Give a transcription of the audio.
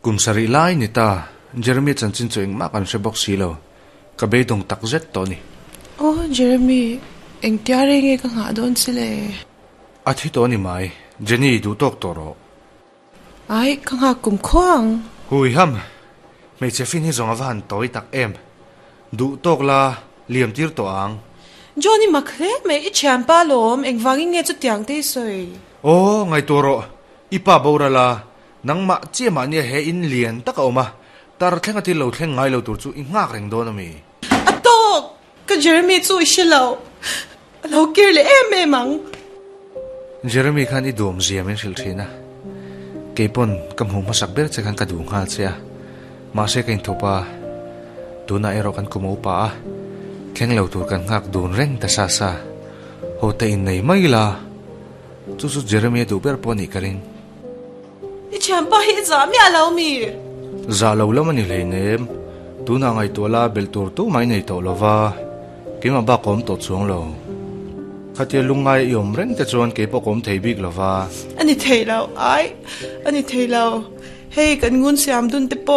Kum sarih lai ni ta, Jeremy chanchin chu engmah kan hre bawk si lo, ka beidawng tak zet tawh a ni. Aw Jeremy, engtia rei nge ka nghah dawn che le? A thi tawh a ni mai, Jenny duh tawk tawh rawh. Ai, ka nghak kum khuang. Hui ham, hmeichhe fin hi zawng a va han tawi tak em. Duh tawk la, liam tir tawh ang. John i mak hle mai, i thianpa lawm, engvangin nge chutiang te i sawi? Aw, ngaihtuah rawh, i pa boral a, nangmah chiah mahnia he in lian tak a awm a, tar thleng a thil lo thleng ngai lo tur chu i nghak reng dawn a mi? A tawk! Ka Jeremy chu i hre lo, a lo kir leh em em ang. Jeremy khan i duam zia min hrilh thin a, keipawn ka hmuh hmasak ber che khan ka duh nghal che a, mahse ka inthup a, tunah erawh kan kum a upa a, thleng lo tur kan nghak dun reng ta sa sa, ho te innei mai la, chu chu Jeremy a duh ber pawh a nih ka ring. I thianpa hi i zah miah lo mi? Zah lo lam a ni hleinem. Tunah ngaihtuah la belh tur tu mai nei tawh lo va, keimah bak ka awm tawh chuang lo. Khatia lungngai i awm reng te chuan keipawh ka awm thei bik lo va. A ni thei lo, ai, a ni thei lo. Hei kan ngun siam dun te pawh.